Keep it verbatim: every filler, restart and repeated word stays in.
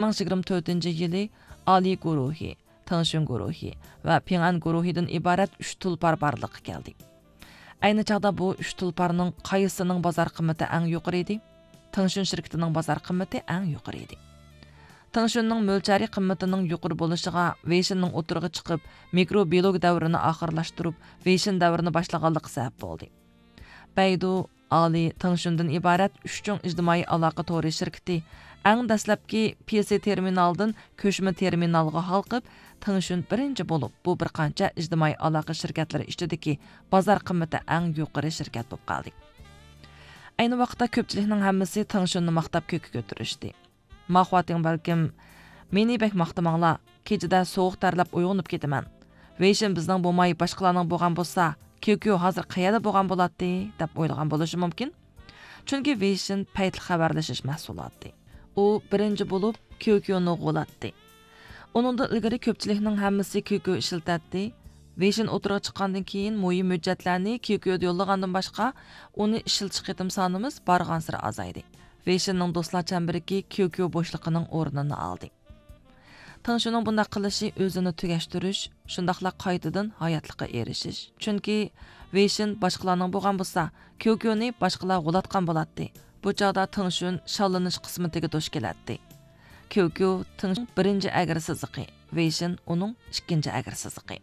مىڭ يىگىرمە تۆتىنچى يىلى ئالى گۇرۇھى، تېڭشۈن گۇرۇھى ۋە پىڭئەن گۇرۇھىدىن ئىبارەت ئۈچ تۇلپار بارلىققا كەلدى. ئەينى چاغدا بۇ ئۈچ تۇلپارنىڭ قايسىنىڭ بازار قىممىتى ئەڭ يۇقىرى ئىدى؟ تېڭشۈن شىركىتىنىڭ بازار قىممىتى ئەڭ يۇقىرى ئىدى. تېڭشۈننىڭ مۆلچەرى قىممىتىنىڭ يۇقىرى بولۇشىغا ۋېيشىننىڭ ئوتتۇرىغا چىقىپ، مىكرو بىيولوگ دەۋرىنى ئاخىرلاشتۇرۇپ، ۋېيشىن دەۋرىنى باشلىغانلىقى سەۋەب بولدى. بەيدۇ، ئالى، تېڭشۈندىن ئىبارەت ئۈچ چوڭ ئىجتىمائىي ئالاقە تورى شىركىتى ئەڭ دەسلەپكى پى سى تېرمىنالدىن كۆچمە تېرمىنالغا ھالقىپ، تېڭشۈن بىرىنچى بولۇپ، بۇ بىر قانچە ئىجتىمائىي ئالاقە شىركەتلىرى ئىچىدىكى بازار قىممىتى ئەڭ يۇقىرى شىركەت بولۇپ قالدى. ئەينى ۋاقىتتا كۆپچىلىكنىڭ ھەممىسى تېڭشۈننى ماختاپ كۆككە كۆتۈرۈشتى. ماخۇاتىڭ بەلكىم، مېنى بەك ماختىماڭلار، كېچىدە سوغۇق تەرلەپ ئويغىنىپ كېتىمەن. ۋېيشىن بىزنىڭ بولماي باشقىلارنىڭ بولغان بولسا، كيۇكيۇ ھازىر قەيەردە بولغان بولاتتى، دەپ ئويلىغان بولۇشى مۇمكىن. چۈنكى ۋېيشىن پەيتلىك خەۋەرلىشىش مەھسۇلاتى. ئۇ بىرىنچى بولۇپ كيۇكيۇنى غۇلاتتى. ئۇنىڭدىن ئىلگىرى كۆپچىلىكنىڭ ھەممىسى كيۇكيۇ ئىشلىتەتتى. ۋېيشىن ئوتتۇرىغا چىققاندىن كېيىن، مۇھىم ھۆججەتلەرنى كيۇكيۇدا يوللىغاندىن باشقا، ئۇنى ئىشلىتىش قېتىم سانىمىز بارغانسېرى ئازايدى. ۋېيشىننىڭ دوستلار چەمبىرىكى كيۇكيۇ بوشلۇقىنىڭ ئورنىنى ئالدى. تېڭشۈننىڭ بۇنداق قىلىشى ئۆزىنى تۈگەشتۈرۈش، شۇنداقلا قايتىدىن ھاياتلىققا ئېرىشىش. چۈنكى ۋېيشىن باشقىلارنىڭ بولغان بولسا، كيۇكيۇنى باشقىلار غۇلاتقان بولاتتى. بۇ چاغدا تېڭشۈن شاللىنىش قىسمىتىگە دۇچ كېلەتتى. كيۇكيۇ تېڭشۈن بىرىنچى ئەگرى سىزىقى، ۋېيشىن ئۇنىڭ ئىككىنچى ئەگرى سىزىقى.